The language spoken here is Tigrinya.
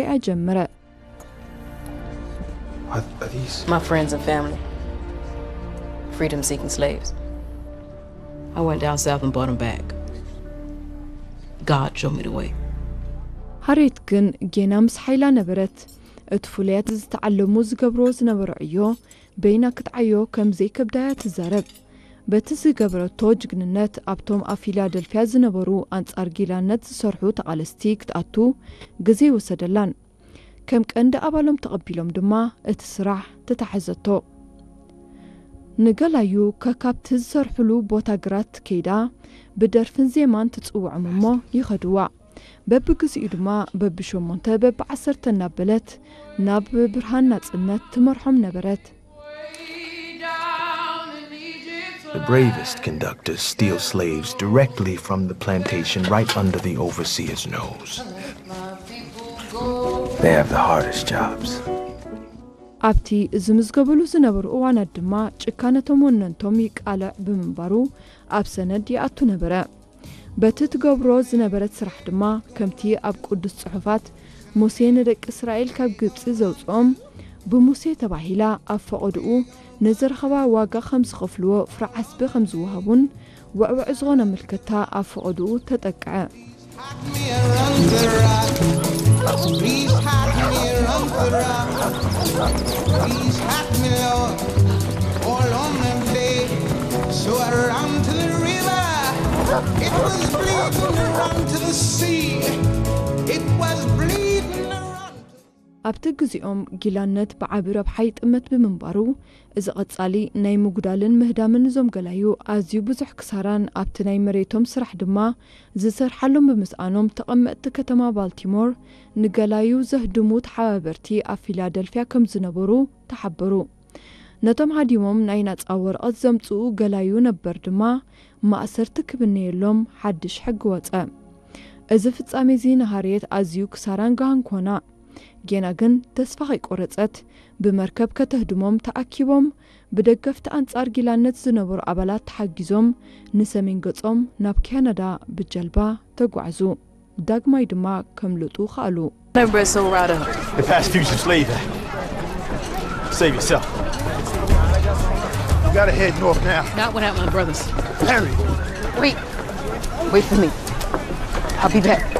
ሪኣ ጀመረ። Are, are these? My friends and family, freedom seeking slaves. I went down south and bought them back. God showed me the way. ሃሬት ግን ጌና ምስ ሓይላ ነበረት። እቲ ፍሉያት ዝተዓለሙ ዝገብርዎ ዝነበሩ ዕዮ በይና ክትዓዮ ከም ዘይከብዳያ ትዛረብ። በቲ ዝገበረቶ ጅግንነት ኣብቶም ኣብ ፊላደልፊያ ዝነበሩ ኣንጻር ጊላነት ዝሰርሑ ተቓለስቲ ክትኣቱ ግዜ ወሰደላን። ከም ቀንዲ ኣባሎም ተቐቢሎም ድማ እቲ ስራሕ ተታሕዘቶ። ንገላዩ ከካብቲ ዝሰርሕሉ ቦታ ግራት ከይዳ ብደርፍን ዜማን ትጽውዖም እሞ ይኸድዋ። በብግዚኡ ድማ በብሸሞንተ በብዓሰርተ እናበለት ናብ ብርሃን ናጽነት ትመርሖም ነበረት። The bravest conductors steal slaves directly from the plantation right under the overseer's nose. They have the hardest jobs. ኣብቲ ዝምዝገበሉ ዝነበሩ እዋናት ድማ ጭካነቶም ወነንቶም ይቃልዕ ብምንባሩ ኣብ ሰነድ ይኣቱ ነበረ። በቲ ትገብሮ ዝነበረት ስራሕ ድማ ከምቲ ኣብ ቅዱስ ጽሑፋት ሙሴ ንደቂ እስራኤል ካብ ግብጺ ዘውጽኦም ብሙሴ ተባሂላ ኣብ ፈቐድኡ ንዝረኸባ ዋጋ ከም ዝኸፍልዎ ፍረ ዓስቢ ከም ዝወሃቡን ውዕውዕ ዝኾነ ምልክታ ኣብ ፈቐድኡ ተጠቅዐ። Please hide me around the rock. Please hide me, Lord. All on the day. So I ran to the river. It was bleeding around to the sea. It was bleeding around. ኣብቲ ግዜኦም ጊላነት ብዓቢ ረብሓ ይጥመት ብምንባሩ እዚ ቐጻሊ ናይ ምጉዳልን ምህዳምን እዞም ገላዩ ኣዝዩ ብዙሕ ክሳራን ኣብቲ ናይ መሬቶም ስራሕ ድማ ዝሰርሓሎም ብምስኣኖም ተቐመጥቲ ከተማ ባልቲሞር ንገላዩ ዘህድሙ ተሓባበርቲ ኣብ ፊላደልፊያ ከም ዝነበሩ ተሓበሩ። ነቶም ሃዲሞም ናይ ናጻ ወረቐት ዘምጽኡ ገላዩ ነበር ድማ ማእሰርቲ ክብነየሎም ሓድሽ ሕጊ ወጸ። እዚ ፍጻሜ እዚ ንሃርየት ኣዝዩ ክሳራን ጋህን ኮና። ጌና ግን ተስፋ ከይቆረጸት ብመርከብ ከተህድሞም ተኣኪቦም ብደገፍቲ ኣንጻር ጊላነት ዝነበሩ ኣባላት ተሓጊዞም ንሰሜን ገጾም ናብ ካናዳ ብጀልባ ተጓዕዙ። ዳግማይ ድማ ከምልጡ ከኣሉ። Never so right up. The past fugitive slave act. Save yourself. You gotta head north now. Not without my brothers. Harry. Wait. Wait for me. I'll be back.